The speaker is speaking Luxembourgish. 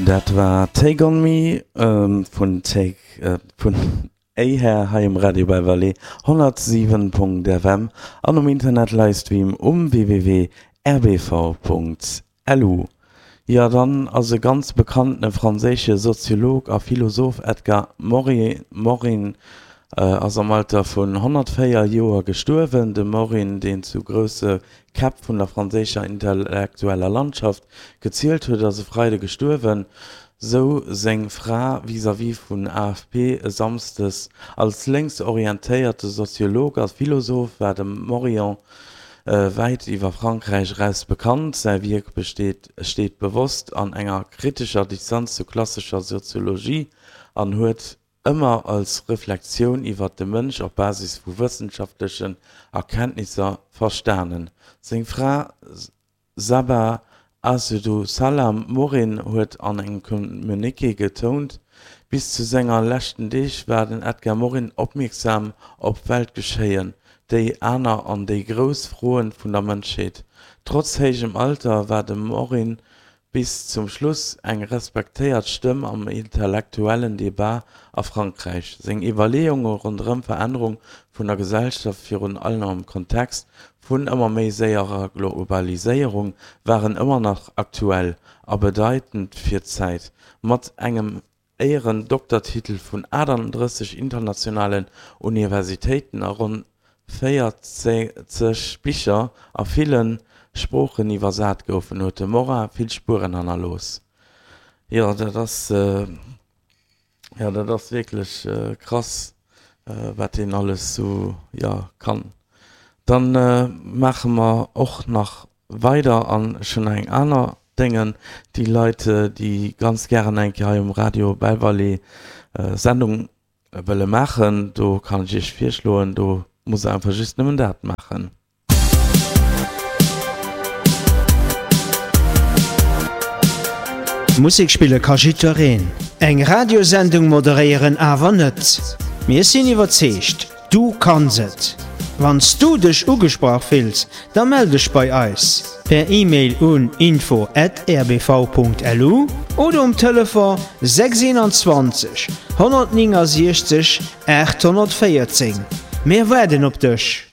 Dat war Take On Me vun Take vun Ahare hei um Radio Belval 107.fm an um Internet Livestream um www.rbv.lu. Jo, dann ass e ganz bekanntene franséische Soziolog a Philosoph Edgar Morin ass am Alter vun 104 Joer gestuerwen. De Morin, deen zu grousse Käpp vun der franséischer intellektueller Landschaft gezielt huet, ass e Freide gestuerwen, sou seng Fra vis-à-vis vun AFP e Samsdes. Als lénksorientéierte Soziolog a Philosoph war de Morion wäit iwwer Frankräich eraus bekannt. Säi Wierk besteet steet bewosst an enger kritescher Distanz zu klassescher Soziologie an huet ëmmer als Reflexioun iwwer de Mënsch op Basis vu wëssenschaftlechen Erkenntnisser verstanen. Seng Fra Saba Assedu-Salam Morin huet an engem Communiqué getount, bis zu senger leschten Deeg war den Edgar Morin opmierksam op Weltgeschéien, déi aner an déi grouss Froen vun der Mënschheet. Trotz héijem Alter war de Morin bis zum Schluss eng respektéiert Stëmm am intellektuellen Debat a Frankräich. Seng Iwwerleeunge ronderëm Verännerung vun der Gesellschaft, virun allem am Kontext vun ëmmer méi séierer Globaliséierung, waren ëmmer nach aktuell a bedeitend fir d'Zäit. Mat engem Éierendoktertitel vun 38 internationalen Universitéiten a ronn 40 Bicher a ville Sproochen iwwersat goufen, huet de Morin vill Spueren hannerlooss. Jo, dat ass, jo, dat ass wierklech krass, wat deen alles sou, jo, kann. Dann maache mer och nach weider an ech hunn nach eng aner Déngen, déi Leit, déi ganz gären eng Kéier hei um Radio Belval Sendung wëlle maachen, do kann ech iech virschloen, do musst der einfach just nëmmen dat maachen. Musek spille ka jiddwereen, eng Radiosendung moderéieren awer net. Mir sinn iwwerzeegt, Du kanns et! Wann s du dech ugesprach fills, da mell dech bei eis per E-Mail un info at rbv.lu oder um Telefon 621 169 814. Mir waarden op dech!